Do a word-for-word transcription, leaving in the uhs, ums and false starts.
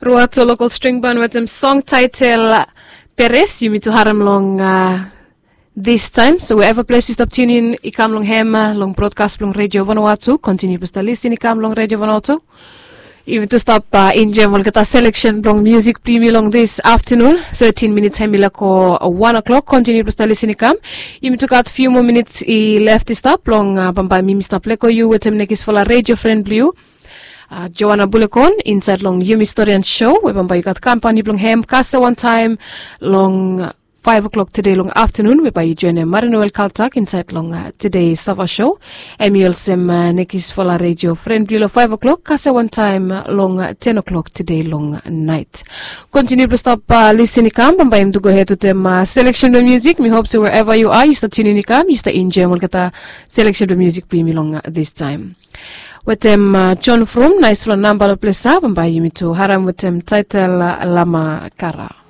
Ruato lokal string ban wetem song taitel Peres yumi tu harem long this time. So wherever ples yu stap tunin i kam long hem long brodkas blong redio vanawatu kontiniu blong stap lisin i kam long redio vanawatu. Yumi tu stap enjem olgeta seleksen blong musik blong yumi long this aftanun. Thirteen minits hem i lako wan o'clock kontiniu blong stap lisin i kam. Yumi tu gat fiu moa minits i left i stap long bambae mi mi stap leko yu wetem nekisfala redio fren blong yu, Joana Bulekon, insaed long yumi storian sho we bambae yu gat kampani blong hem kase wantaem long faef o'klok tede long aftanun we bae yu joenem Marinoel Kaltak insaed long tede sava sho. Hem i olsem nekisfala redio fren blong yu long faef o'klok kase wantaem long ten o'klok tede long naet. Kontiniu blong stap lisin i kam bambae yumi tu gohed wetem seleksen blong musik. Mi hop se wherever yu a yu stap tunin i kam yu stap enjoem olgeta seleksen blong musik blong yumi long this time. Wetem John From naesfala namba long ples ya bambae yumi tu harem wetem taitel Lama Kara.